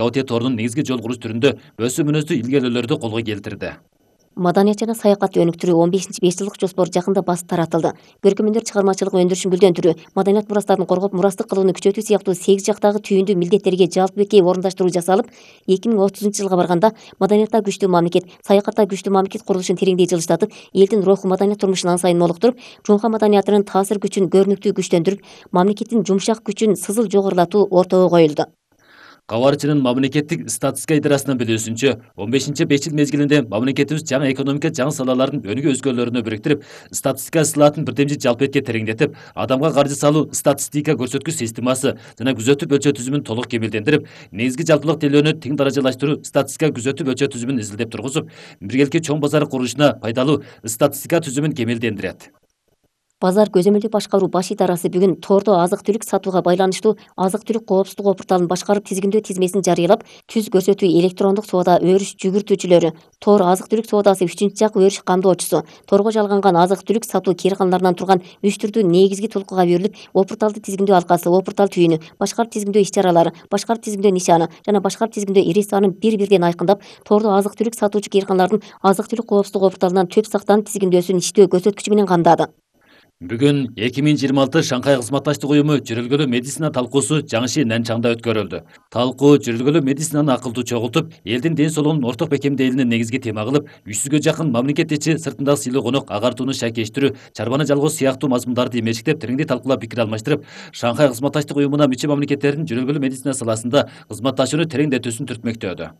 ОТ торунун негизги жол куруш түрүндө өсүү мүнөздүү илгерүүлөрдү колго келтирди. Маданият жана саякатты өнүктүрүү 15-5 жылдык жоспор жакында басып таратылды. Көркөмөндөр чыгармачылык өндүрүшүн гүлдөндүрүү, маданият мурастарын коргоп, мурастык кылууну күчөтүү сыяктуу 8 жактагы түйүндүү милдеттерге жалпы бекей орундаштыруу жасалып, 2030-жылга барганда маданиятта күчтүү мамлекет, саякатта күчтүү мамлекет курулушун тереңдей жылыштатып, элдин руху маданият турмушун ан сайын молуктуруп, жумка маданиятынын таасир күчүн көрүнүктүү күчтөндүрүп, мамлекеттин жумшак күчүн сызыл жогорулатуу ортого коюлду. Кабарчынын мамлекеттик статистика идарасынын билүүсүнчө, 15-5 жыл мезгилинде мамлекетибиз жаңы экономика жаңы салалардын өнүгүү өзгөлөрүнө бириктирип, статистика ысылаатын бирдемчи жалпы этке тереңдетип, адамга каржы салуу статистика көрсөткүч системасы жана күзөтүп өлчөө түзүмүн толук кемелдендирип, негизги жалпылык делөөнү тең даражалаштыруу статистика күзөтүп өлчөө түзүмүн изилдеп тургузуп, биргеликки чоң базар курулушуна пайдалуу статистика түзүмүн кемелдендирет. Базар көзөмөлдү башкаруу баш идарасы бүгүн тордо азык-түлүк сатууга байланыштуу азык-түлүк коопсуздугу порталын башкарып тизгиндөө тизмесин жарыялап, түз көрсөтүү электрондук соода өрүш жүгүртүүчүлөрү, тор азык-түлүк соодасы 3-жак өрүш камдоочусу, торго жалганган азык-түлүк сатуу кээрканаларынан турган 3 түрдүү негизги толкууга берилип, опурталды тизгиндөө алкасы, опуртал түйүнү, башкарып тизгиндөө иш-чаралары, башкарып тизгиндөө нишаны жана башкарып тизгиндөө ири санын бир-бирден айкындап, тордо азык-түлүк сатуучу кээрканалардын азык-түлүк коопсуздугу опурталынан төп сактанып тизгиндөөсүн иштөө көрсөткүчү менен камдады. Бүгүн 2026 Шанхай кызматташтык уюму жүрүлгөлүү медицина талкуусу Жаңши Нанчаңда өткөрүлдү. Талкуу жүрүлгөлүү медицинаны акылдуу чогултуп, элдин ден соолугунун орток бекемделүүнү негизги тема кылып, 300гө жакын мамлекет ичи сыртындагы сыйлуу конок агартууну шайкештирүү, чарбаны жалгоо сыяктуу мазмундарды эмечектеп, тереңдей талкуулап пикир алмаштырып, Шанхай кызматташтык уюмуна мүчө мамлекеттердин жүрүлгөлүү медицина саласында кызматташууну тереңдетүүсүн түртмөктөөдү.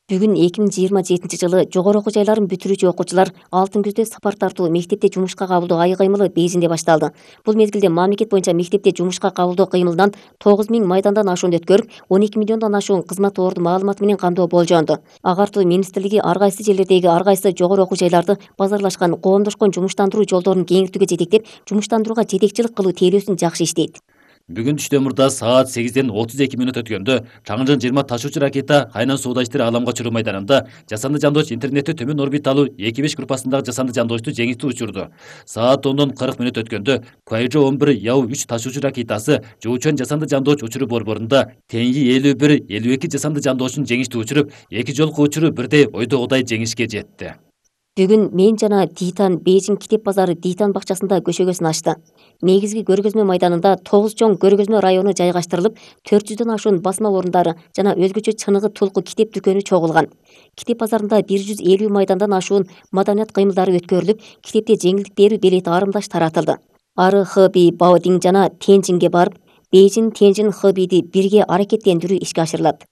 Бүгүн 2027-жылы жогору окуу жайларын бүтүрүүчү окуучулар алтын күздө сапар тартуу мектепте жумушка кабылдоо ай кыймылы Бейжиңде башталды. Бул мезгилде мамлекет боюнча мектепте жумушка кабылдоо кыймылынан 9000 майдандан ашууну өткөрүп, 12 миллиондон ашуун кызмат орду маалыматы менен камдоо болжонду. Агартуу министрлиги ар кайсы жерлердеги ар кайсы жогору окуу жайларды базарлашкан, коомдошкон жумуштандыруу жолдорун кеңейтүүгө жетектеп, жумуштандырууга жетекчилик кылуу териосун жакшы иштейт. Бүгүн түштө саат 8:32 өткөндө Чаңжын 20 ташуучу ракета Хайнан сууда иштери аламга чыруу майданында жасанды жандооч интернетти төмөн орбиталуу 2-5 группасындагы жасанды жандоочту жеңиштүү учурду. Саат 10:40 өткөндө Куайжо 11 Яу-3 ташуучу ракетасы Жоучон жасанды жандооч учуру борборунда Теньи 51-52 жасанды жандоочун жеңиштүү учуруп, эки жолку учуру бирдей ойдогудай жеңишке жетти. Бүгүн мен жана Дитан Бейжиң китеп базары Дитан бакчасында көшөгөсүн ачты. Негизги көргөзмө майданында 9 чоң көргөзмө району жайгаштырылып, 400дөн ашуун басма орундары жана өзгөчө чыныгы тулку китеп дүкөнү чогулган. Китеп базарында 150 майдандан ашуун маданият кыймылдары өткөрүлүп, китепте жеңилдик берүү билети арымдаш таратылды. Ары Хэби Баодиң жана Тенжинге барып, Бейжиң Тенжин Хэбиди бирге аракеттендирүү ишке ашырылат.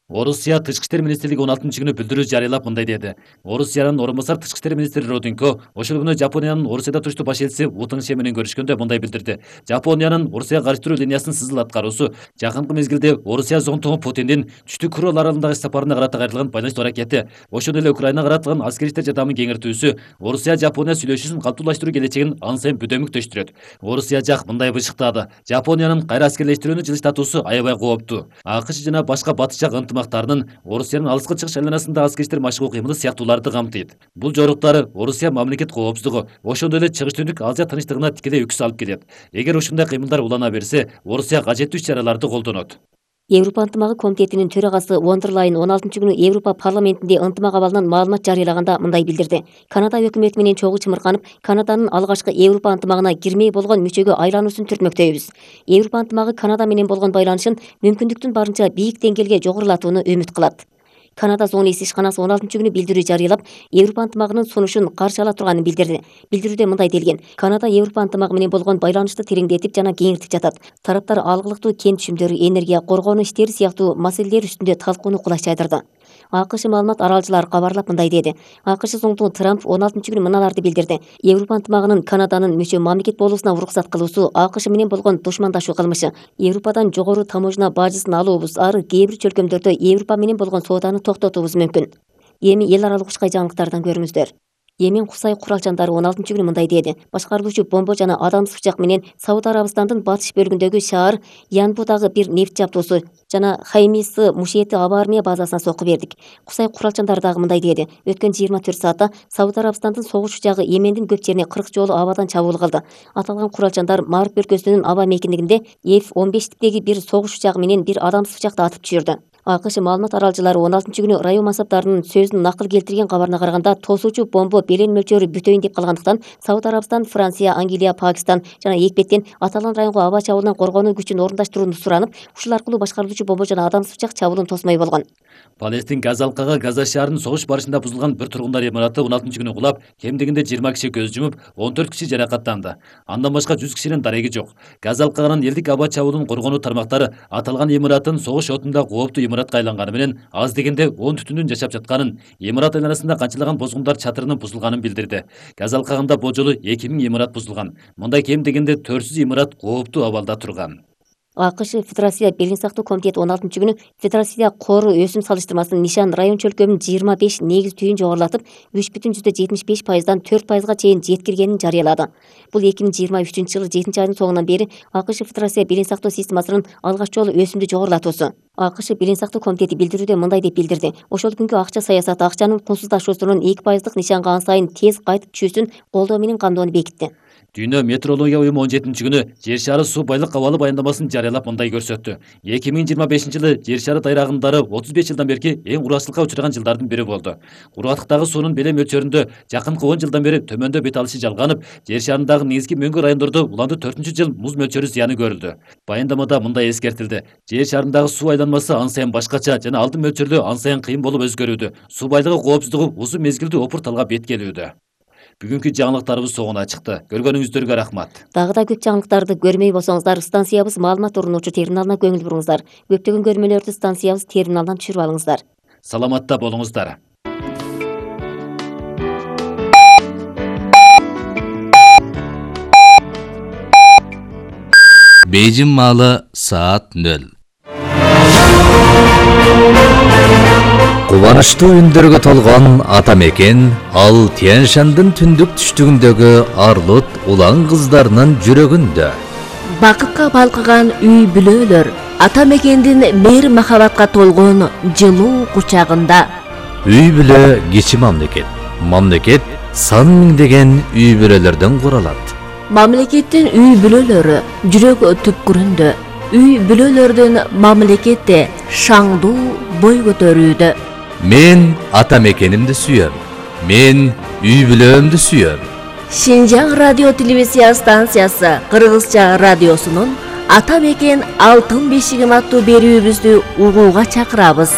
Орусия тышкы иштер министрлиги 16-күнү билдирүү жарыялап мындай деди. Орусиянын орун басар тышкы иштер министри Роденко ошол күнү Жапониянын Орусияда туруштуу баш элчиси Утыңше менен көрүшкөндө мындай билдирди. Жапониянын Орусияга каршы туруу линиясынын сызыл аткаруусу жакынкы мезгилде Орусия зонтогу Путиндин түштүк Урал аралындагы сапарына карата кайрылган байланыштуу аракети, ошондой эле Украинага каратылган аскерий иштер жардамын кеңейтүүсү Орусия-Жапония сүйлөшүүсүн калктуулаштыруу келечегин ан сайын бөдөмүктөштүрөт. Орусия жак мындай бышыктады. Жапониянын кайра аскерлештирүүнү жылыштатуусу аябай кооптуу. АКШ жана башка батыш жак ынтымактарынын Орусиянын алыскы чыгыш айланасында аскерий иштер машыгуу кыймылы сыяктууларды камтыйт. Бул жоруктар Орусия мамлекет коопсуздугу, ошондой эле чыгыш түндүк Азия тынчтыгына тикелей үкүс алып келет. Эгер ушундай кыймылдар улана берсе, Орусия кажеттүү иш-чараларды колдонот. Европа ынтымагы комитетинин төрагасы Вондерлайн 16-күнү Европа парламентинде ынтымак абалынан маалымат жарыялаганда мындай билдирди. Канада өкмөтү менен чогуу чымырканып, Канаданын алгачкы Европа ынтымагына кирмей болгон мүчөгө айлануусун түртмөктөйбүз. Европа ынтымагы Канада менен болгон байланышын мүмкүндүктүн барынча бийик деңгээлге жогорулатууну үмүт кылат. Канада зонасы ишканасы 16-күнү билдирүү жарыялап, Европа ынтымагынын сунушун каршы ала турганын билдирди. Билдирүүдө мындай делген: Канада Европа ынтымагы менен болгон байланышты тереңдетип жана кеңиртип жатат. Тараптар алгылыктуу кен түшүмдөрү, энергия, коргонуу иштери сыяктуу маселелер үстүндө талкууну кулай чайдырды. АКШ маалымат аралчылары кабарлап мындай деди. АКШ соңдугу Трамп 16-күнү мыналарды билдирди. Европа ынтымагынын Канаданын мүчө мамлекет болуусуна уруксат кылуусу АКШ менен болгон душмандашуу кылмышы. Европадан жогору таможня бажысын алуубуз ары кээ бир чөлкөмдөрдө Европа менен болгон сооданы токтотуубуз мүмкүн. Эми эл аралык учкай жаңылыктардан көрүңүздөр. Йемен Кусай куралчандары 16-күнү мындай деди. Башкарылуучу бомба жана адамдык пычак менен Сауд Арабистандын батыш бөлүгүндөгү шаар Янбудагы бир нефт жабдоосу жана Хаймисы Мушети аба армия базасына сокку бердик. Кусай куралчандары дагы мындай деди. Өткөн 24 саатта Сауд Арабистандын согуш учагы Йемендин көп жерине 40 жолу абадан чабуул кылды. Аталган куралчандар Мариб өлкөсүнүн аба мейкиндигинде F-15 типтеги бир согуш учагы менен бир адамдык пычакты атып түшүрдү. АКШ маалымат аралчылары 16-күнү район мансаптарынын сөзүн накыл келтирген кабарына караганда, тосуучу бомба белен мөлчөрү бүтөйүн деп калгандыктан Сауд Арабистан, Франция, Англия, Пакистан жана Экпеттен аталган районго аба чабуулунан коргонуу күчүн орундаштырууну суранып, ушул аркылуу башкарылуучу бомба жана адамдык пычак чабуулун тосмой болгон. Палестин Газа алкага Газа шаарынын согуш барышында бузулган бир тургундар имараты 16-күнү кулап, кем дегенде 20 киши көз жумуп, 14 киши жаракаттанды. Андан башка 100 кишинин дареги жок. Газа алкагынын элдик аба чабуулун коргонуу тармактары аталган имараттын согуш отунда кооптуу имаратка айланганы менен аз дегенде 10 түтүндүн жашап жатканын, имарат айланасында канчалаган бозгундар чатырынын бузулганын билдирди. Газа алкагында бул жолу 2000 имарат бузулган. Мындай кем дегенде 400 имарат кооптуу абалда турган. АКШ Федерация Белин сактоо комитети 16-күнү Федерация кору өсүм салыштырмасынын нишан район чөлкөмүн 25 негиз түйүн жогорулатып, 3,75%дан 4%га чейин жеткиргенин жарыялады. Бул 2023-жылы 7-айдын соңунан бери АКШ Федерация Белин сактоо системасынын алгач жолу өсүмдү жогорулатуусу. АКШ Белин сактоо комитети билдирүүдө мындай деп билдирди. Ошол күнгү акча саясаты акчанын кунсуздашуусунун 2%дык нишанга ан сайын тез кайтып түшүүсүн колдоо менен камдоону бекитти. Дүйнө метеорология уюму 17-күнү жер шары суу байлык абалы баяндамасын жарыялап мындай көрсөттү. 2025-жылы жер шары тайрагындары 35 жылдан берки эң кургакчылыкка учураган жылдардын бири болду. Кургактыктагы суунун беле мөлчөрүндө жакынкы 10 жылдан бери төмөндө бет алышы жалганып, жер шарындагы негизги мөңгү райондордо уланды 4-жыл муз мөлчөрү зыяны көрүлдү. Баяндамада мындай эскертилди. Жер шарындагы суу айланмасы ан сайын башкача жана алдын мөлчөрлөө ан сайын кыйын болуп өзгөрүүдө. Суу байлыгы коопсуздугу uzun мезгилдүү опур талга бет келүүдө. Бүгүнкү жаңылыктарыбыз соңуна чыкты. Көргөнүңүздөргө рахмат. Дагы да көп жаңылыктарды көрмөй болсоңуздар, станциябыз маалымат орунуучу терминалына көңүл буруңуздар. Көптөгөн көрмөлөрдү станциябыз терминалдан түшүрүп алыңыздар. Саламатта болуңуздар. Бейжин маалы саат 0. Кубанычтуу үндөргө толгон ата мекен ал Тянь-Шандын түндүк түштүгүндөгү Арлут улан кыздарынын жүрөгүндө. Бакытка балкыган үй бүлөлөр ата мекендин мейир махабатка толгон жылуу кучагында. Үй бүлө кичи мамлекет. Мамлекет сан миңдеген үй бүлөлөрдөн куралат. Мамлекеттин үй бүлөлөрү жүрөк түпкүрүндө. Үй бүлөлөрдүн мамлекетте шаңдуу бой көтөрүүдө. Мен ата мекенимди сүйөм. Мен үй бүлөмдү сүйөм. Шинжаң радио телевизия станциясы Кыргызча радиосунун Ата мекен алтын бешигим аттуу берүүбүздү угууга чакырабыз.